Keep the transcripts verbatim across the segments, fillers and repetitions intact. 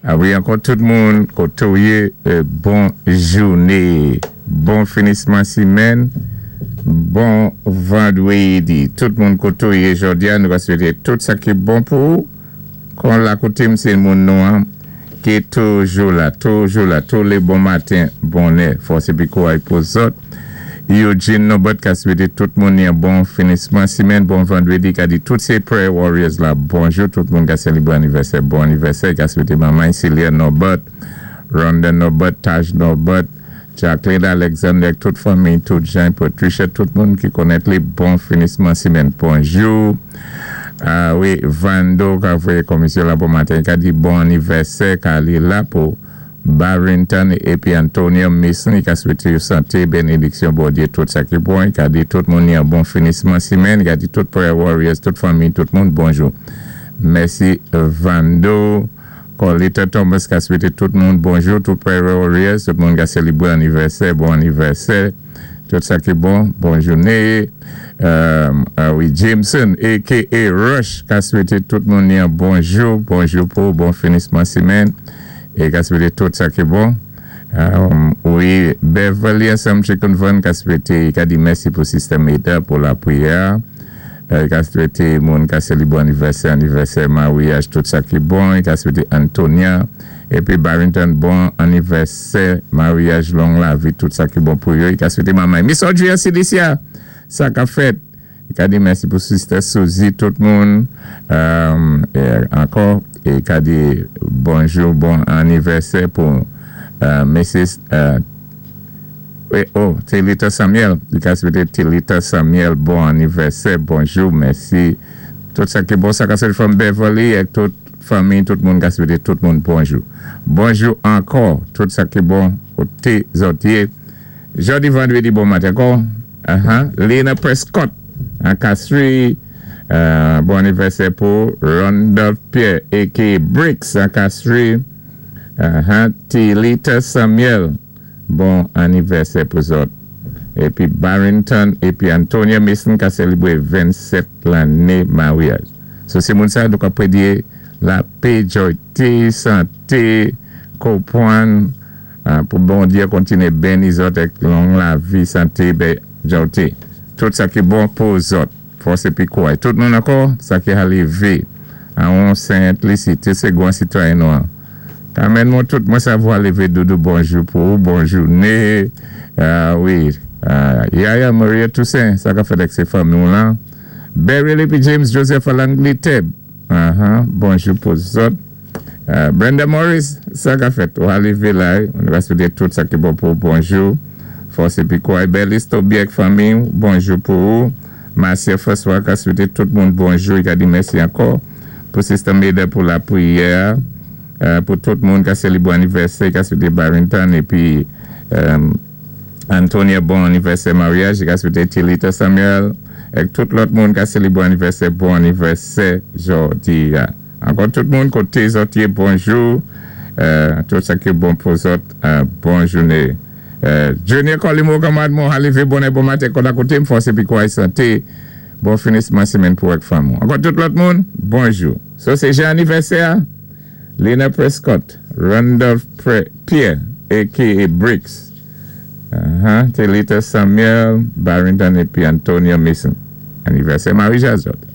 A wi, ankò tout moun, koté ou yé, bon jouné, bon finisman simenn, bon vandwédi. Tout moun koté ou yé jòdi-a, nou va swété tout sa ki bon pou ou. Kon la koté m sé moun nou an, ki toujou la, toujou la, tou lé bon maten, bonnè, fòs épi kouway pou zòt. Eugene Nobert ka swété tout moun yon bon finisman simenn, bon vandwédi, ka di tout sé Prayer Warriors la, bonjou, tout moun ka sélibwé anivèsè, bon anivèsè, ka swété manman Celia Nobert, Rhonda Nobert, Taj Nobert, Jacqueline Alexander, tout fanmi, tout Jean, Patricia, tout moun ki konnèt li, bon finisman simenn, bonjou. Ah wi, Vando ka voyé komisyon la bon maten, ka di bon anivèsè, ka li la pou Barrington épi Antonio Mason, ka swété yo santé, bénédiksyon, Bondyé, tout sa ki bon, ka di tout moun yon bon finisman simenn, ka di tout Prayer Warriors, tout fanmi, tout moun, bonjou. Mèsi Vando. Colita Thomas ka swété tout moun bonjou, tout Prayer Warriors, tout moun ka sélibwé anivèsè, bon anivèsè, tout sa ki bon, bon jouné. Euh, wi, Jameson, A K A Rush, ka swété tout moun yon bonjou, bonjou pou bon finisman simenn, é ka swété tout sa ki bon. Wi, Beverly ansanm Chicken Van ka swété, ka di mèsi pou Sister Meda pou lapriyè, ka swété moun ka sélibwé anivèsè, anivèsè maryaj, tout sa ki bon, ka swété Antonia, épi Barrington bon anivèsè, maryaj, long lavi, tout sa ki bon pou yo, ka swété manman. Miss Audrey Silicia, sa ka fèt, ka di mèsi pou Sister Suzy, tout moun, ankò, é ka di bonjou, bon anivèsè pou Missus Oh, Telita Samuel, li ka swété Telita Samuel, bon anivèsè, bonjou, mèsi. Tout sa ki bon, sa ka soti from Beverly, ek tout fanmi, tout moun ka swété tout moun bonjou. Bonjou ankò, tout sa ki bon, koté zòt yé. Jòdi vandwédi bon maten ankò, Lena Prescott, an Castries, bon anivèsè pou Randolph Pierre, A K A. Bricks, an Castries, Telita Samuel, bon anivèsè pou zòt. Épi Barrington, épi Antonia Mason ka sélibwé vennsèt lanné maryaj. So sé moun sa nou ka prédyé lapè, jòyté, santé, konpwann, pou Bondyé kontiné béni zòt ek long lavi, santé, bé, jòyté. Tout sa ki bon pou zòt. Fòs épi kouway. Tout moun ankò, sa ki lévé. An Saint-Lucie, té sé gwan sitwayen nou an. Amen, moun tout mwen sa vwa lévé doudou bonjou pou bon jouné. Wi, Yaya Maria Toussaint, sa ka fèt ek sé fanmi ou lan. Beryl épi James Joseph Alangli Teb. Bonjou pou zòt. Brenda Morris, sa ka fèt. Ou lévé la, on va swété tout sa ki bon pou bonjou. Fòs épi kouway Belis Tobiek fanmi, bonjou pou ou. Marcia François ka swété tout moun bonjou, i ka di mèsi ankò. Pou Sister Meda pou lapriyè. Pou tout moun ka sélibwé anivèsè, ka swété Barrington, épi Antonia bon anivèsè maryaj, ka swété Tilita Samuel, ek tout lòt moun ka sélibwé anivèsè, bon anivèsè jòdi. Ankò tout moun koté zòt yé, bonjou, tout sa ki bon pou zòt, bon jouné. Junior Colimo kamad moun lévé bonè bon maten kon akoté m fòs épi kouway santé, bon finisman simenn pou ek fanmi. Ankò tout lòt moun, bonjou. So sé jan anivèsè, Lena Prescott, Randolph Pierre, A K A. Briggs, Telita Samuel, Barrington épi Antonio Mason. Anivèsè maryaj zòt.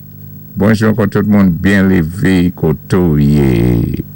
Bonjou ankò tout moun, byen lévé koté ou yé.